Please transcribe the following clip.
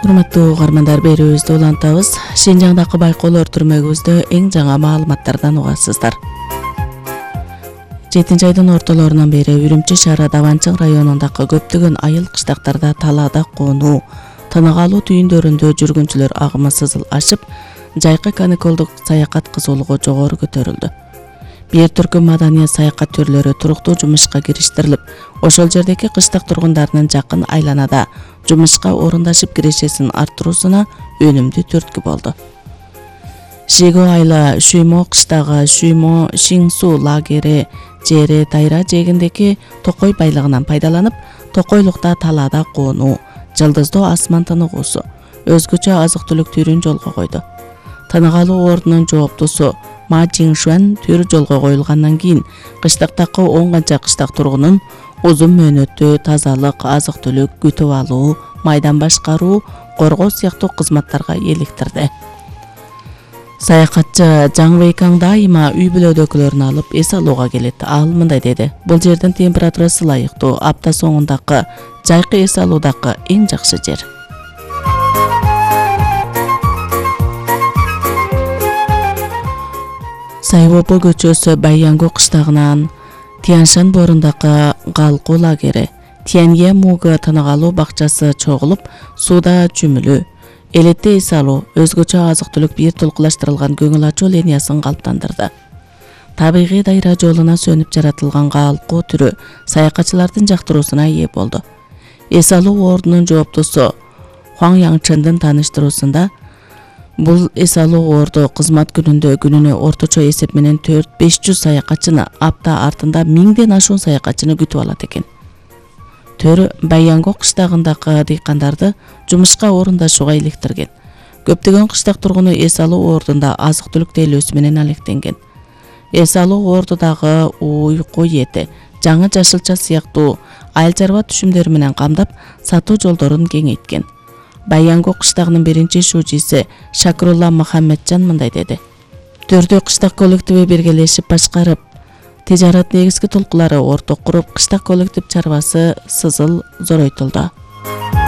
Урматтуу угармандар, берүүбүздү улантабыз. Шинжаңдагы байкоолор түрмөгүбүздө эң жаңы маалыматтардан угасыздар. 7 айдын ортолорунан бери Үрүмчү шаары Даванчың районундагы көптөгөн айыл кыштактарда талаада конуу, тынык алуу түйүндөрүндө жүргүнчүлөр агымы сызыл ашып, жайкы каникулдук саякат кызуулугу жогору көтөрүлдү. Бир түркүм маданият саякат түрлөрү туруктуу жумушка кириштирилип, ошол жердеги кыштак тургундарынын жакын айланада жумушка орундашып киришесин арттыруусуна өнүмдүү түрткү болду. Шиго айла Шүймо кыштагы Шүймо Шиңсу лагери жери Тайра жээгиндеги токой байлыгынан пайдаланып, токойлукта талаада конуу, жылдыздоо асман тыныгуусу, өзгөчө азык-түлүк түрүн жолго койду. Тынык алуу ордунун жооптусу Ма Жиңшуан түрү жолго коюлгандан кийин кыштактагы 10 канча кыштак тургунун узун мөөнөттүү тазалык, азык-түлүк күтүп алуу, майдан башкаруу, коргоо сыяктуу кызматтарга эликтирди. Саякатчы Жаң Вейкаң дайыма үй бүлөдөгүлөрүн алып эс алууга келет. Ал мындай деди: "Бул жердин температурасы ылайыктуу, апта соңундагы жайкы эс алуудагы эң жакшы жер." Сайвопо көчөсү Байянгу кыштагынан Тияншан боорундагы Галку лагери, Тиянье Муга тынык алуу бакчасы чогулуп, сууда чүмүлүү, элетте эс алуу, өзгөчө азык-түлүк бир толкулаштырылган көңүл ачуу линиясын калыптандырды. Табигый дайра жолуна сөнүп жаратылган Галку түрү саякатчылардын жактыруусуна ээ болду. Эс алуу ордунун жооптусу Хуаң Яңчындын тааныштыруусунда, бул эс алуу орду кызмат күнүнө орточо эсеп менен 400-500 саякатчыны, апта артында 1000ден ашуун саякатчыны күтүп алат экен. Төр Байянгу кыштагындагы дыйкандарды жумушка орундашууга иликтирген. Көптөгөн кыштак тургуну эс алуу ордунда азык-түлүк тейлөөсү менен алектенген. Эс алуу ордудагы уйку эти, жаңы жашылча сыяктуу айыл чарба түшүмдөрү менен камдап, сатуу жолдорун кеңейткен. Байянгу кыштагынын биринчи шүүчүсү Шакрулла Мухаммеджан мындай деди: "Төрдө кыштак коллективи биргелешип башкарып, тижарат негизги толкулары орток куруп, кыштак коллектив чарбасы сызыл зоройтулду.